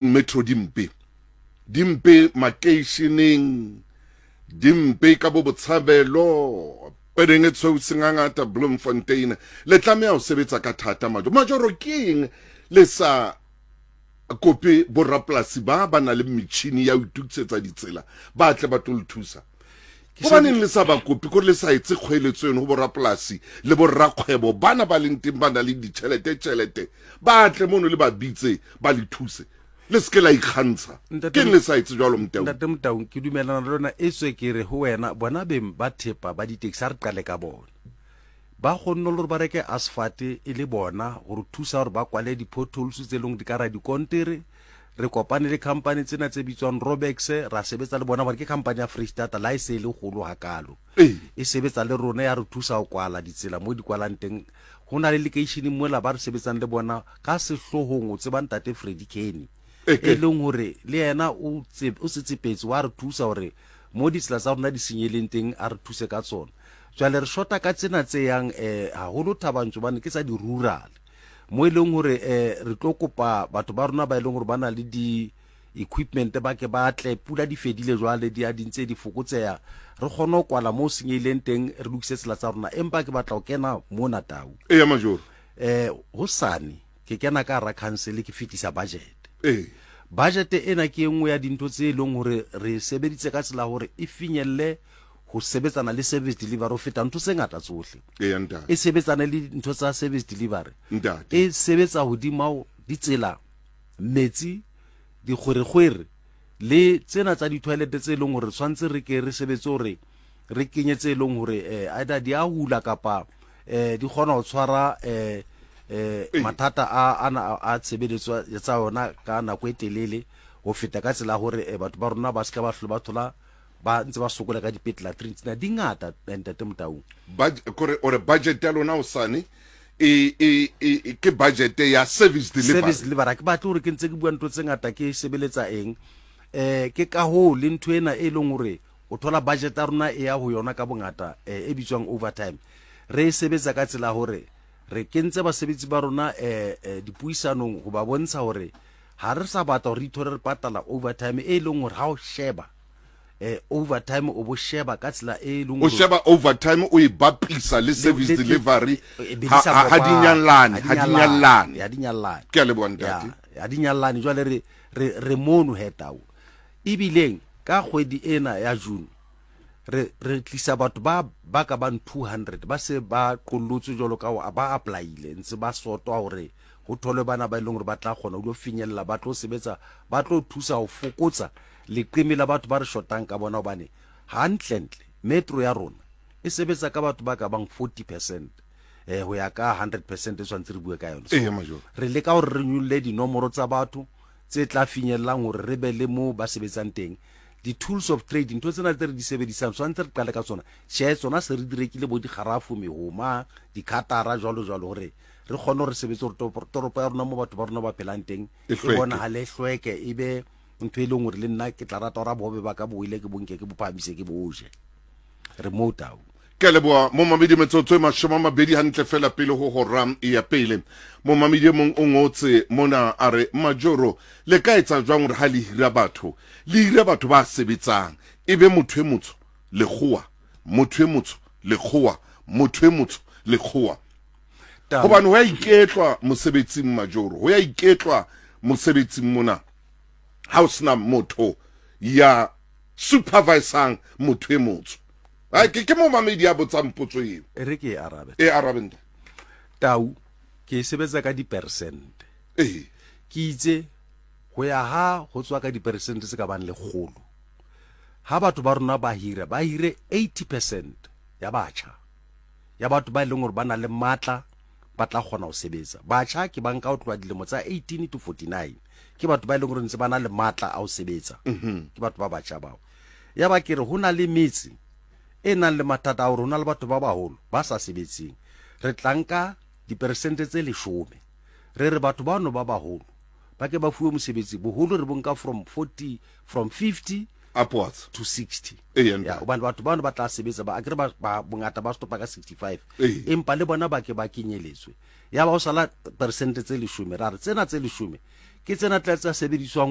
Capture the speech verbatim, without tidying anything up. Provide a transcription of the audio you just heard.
Metro di mpe, di mpe makeisheneng, di mpe ka bo Botshabelo, Pedeng e tshweu sengangata, Bloemfontein. Le tlameha ho sebetsa ka thata. Majoro, Majoro, ke eng le sa kope borapolasi ba ba na le metjhini ya ho itokisetsa ditsela, ba tle ba tlo le thusa? Hobaneng le sa ba kope, kore le sa etse kgoeletso eno ho borapolasi le borrakgwebo bana ba leng teng, ba na le ditjhelete tjhelete, ba tle mono le ba bitse, ba le thuse? Le se ke la ikgantsha. Ke eng le sa etse jwalo, Motau? Ntate Motaung, ke dumelana le lona. E tswe ke re ho wena, bona beng ba thepa ba ditekisi, ha re qale ka bona, ba kgonne le gore ba reke asphalt e le bona gore thusa gore ba kwale di-potholes tse leng di ka ra dikontere. Re kopane le company tsena tse bitswang Robex, ra sebetsa le bona gore ke company ya Freestata, la e se e le kgolo hakalo, e sebetsa le rona, ya re thusa ho kwala ditsela mo di kwalang teng. Ho na le lekeisheneng mola ba re sebetsang le bona ka sehlohong, o tseba ntate Freddy Kenny, e leng hore le yena o tsetsepetse, wa re thusa hore mo ditsela tsa rona di senyeleng teng a re thuse ka tsona. Jwale re shota ka tsena tse yang um haholo Thabantso, bane ke tsa di-rural, mo e leng hore um re tlo kopa batho ba rona ba e leng hore ba na le di-equipment, ba ke ba tle. Pula di fedile jwale, di a di ntse di fokotseha, re kgone ho kwala mo senyehileng teng, re lokise tsela tsa rona. Empa ke batla ho kena mona, Tau. Eya, Majoro. um hosane ke kena ka hara council, ke fetisa budget. Ee budget ena ke e nngwe ya dintho tse e leng hore re sebeditse ka tsela hore e finyelle ho sebetsana le service delivery ho feta ntho tse ngata tsohle. Eya, ntate. E sebetsane le ntho tsa service delivery. Ntate. E sebetsa hodima ditsela, metsi, dikgwerekgwere le tsena tsa di-toilet tse leng hore tshwanetse re ke re sebetse hore re kenye tse leng hore eh, either di a hula kapa eh, di kgona ho tshwara eh, eh, mathata a ana a tshebeletso tsa yona ka nako e telele ho feta, ka tsela ya hore eh, batho ba rona ba seka ba hlole ba thola ba ntse ba sokola ka dipetlele. Latrine tsena di ngata, eh, ntate Motaung. Bud- kore ore budget ya lona hosane e e e ke budget ya service delivery. Service delivery. Ha ke batle hore ke ntse ke bua ntho tse ngata, ke sebeletsa eng. eh ke ka hoo le ntho ena e leng hore o thola budget ya rona e ya ho yona ka bongata, eh, e bitswang overtime. Re e sebetsa ka tsela hore re kentse basebetsi ba rona eh, eh dipuisanong ho ba bontsha hore ha re sa batla hore re ithole re patala overtime, e leng hore ha o sheba eh overtime, o bo sheba ka tsela e leng o sheba overtime, o e bapisa le service delivery, ha ha di nyallane, ha di nyallane. Ha di nyallane. Ke a leboha, ntate. Ha di nyallane. Jwale re re re mono hetao, ebileng ka kgwedi ena ya June re re tlisa batho ba ba ka bang two hundred, ba se ba qollotswe jwalo ka ba applyile, ntse ba sotwa hore ho tholwe bana ba e leng hore ba tla kgona ho lo finyella, ba tlo sebetsa, ba tlo thusa ho fokotsa leqeme la batho ba re shotang ka bona, hobane hantlentle metro ya rona e sebetsa ka batho ba ka bang forty percent eh ho ya ka hundred percent e tshwanetse re bue ka yona. Ee, Major. Re leka hore re nyolle dinomoro tsa batho tse tla finyellang hore re be le mo ba sebetsang teng. Di-tools of trade, ntho tsena tse re di sebedisang, tshwanetse re qale ka tsona. Tjhe, tsona se re di rekile, bo dikgarafu, mehoma, dikhatara, jwalo jwalo, hore re kgone hore sebetse, hore toropo ya rona mo batho ba rona ba phelang teng e e hlweke. Bonahale, e hlweke, e be ntho e leng hore le nna ke tla rata hore bohobe ba ka bo ile ke bonke, ke bo phahamise, ke bo je. Re moo, Tau. Ke a leboha, momamedi. Metsotso e mashome a mabedi hantle fela pele ho hora ya pele. Momamedi e mong o ngotse mona, a re, Majoro, le ka etsa jwang hore ha le hira batho, le hire batho ba sebetsang, e be motho e motsho, lekgowa, motho e motsho, lekgowa, motho e motsho, lekgowa? Tau. Hobane ho ya iketlwa mosebetsing, Majoro, ho ya iketlwa mosebetsing mona ha o sena motho ya supervisang motho e motsho. Ai, ke ke momamedi a botsang potso eo. E re ke e arabe. E arabe, ntate. Tau, ke e sebetsa ka dipersente. Ee ke itse ho ya ha ho tswa ka diperesente tse ka bang lekgolo, ha batho ba rona ba hira, ba hire eighty percent ya batjha, ya batho ba e leng hore ba na le matla, ba tla kgona ho sebetsa. Batjha ke ba nka ho tloha dilemo tsa eighteen to forty-nine, ke batho ba e leng hore ntse ba na le matla a ho sebetsa, ke batho ba batjha bao. Ya ba ke re ho na le metse e nang le mathata a hore ho na le batho ba baholo ba sa sebetseng, re tla nka diperesente tse leshome, re re batho bano ba baholo ba ke ba fuwe mosebetsi. Boholo re bo nka from forty, from fifty upwards to sixty. Ee, ya ntate. Hobane batho bano ba tla sebetsa, ba akere ba ba- bongata ba stopa ka sixty-five. Ee. Empa le bona ba ke ba kenyeletswe. Ya ba o sala peresente tse leshome, ra re tsena tse leshome ke Ke tsena tla tsa sebediswang.